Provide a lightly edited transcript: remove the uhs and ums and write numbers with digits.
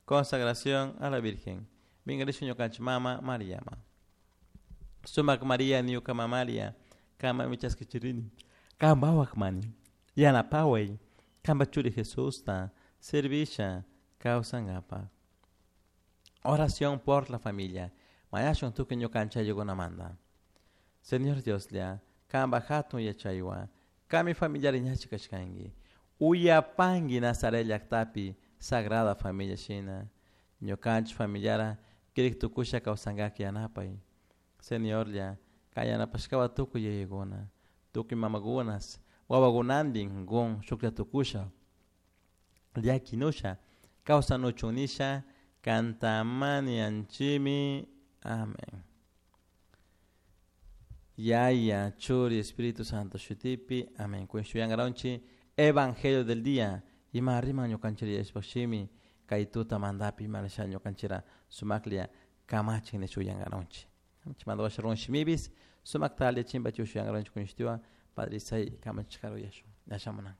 Consagración a la Virgen. Mingarishun ñukanchik mama Mariama. Sumak Maria ñuka mamaria kama michaskichirini. Kambawak mani. Yanapaway. Kamba churi Jesusta servisha kawsankapa. Oración por la familia. Mañashun tukuy ñukanchik ayllukunamanta. Señor Dioslla, kamba hatun yachaywan, kami familiari ñachi kashkanki. Uyapanki Nazaret llaktapi Sagrada Familia shina. Ñukanchik familiara kirik tukusha kawsankaki yanapay. Señorlla, kan yanapashkawa tukuy yayakuna, tukuy mamakunas, wawakunantin kun shuklla tukusha, llakinusha, kawsanuchun nisha, kantamanianchimi. Amén. Yaya, Churi, Espíritu Santo, Shutipi. Amén. Kunshuyangaronchi, Evangelio del día. Ima rima ñukanchira yashpashimi, kay tuta mandapi imalasha ñukanchira sumaklia kamachin nishuyangaronchi. Chimanda run shimibis, sumaktalia chimba chushuyangaronchi kunshtiwa, Padre Isai kamachikaru yashu. Yashamunanga.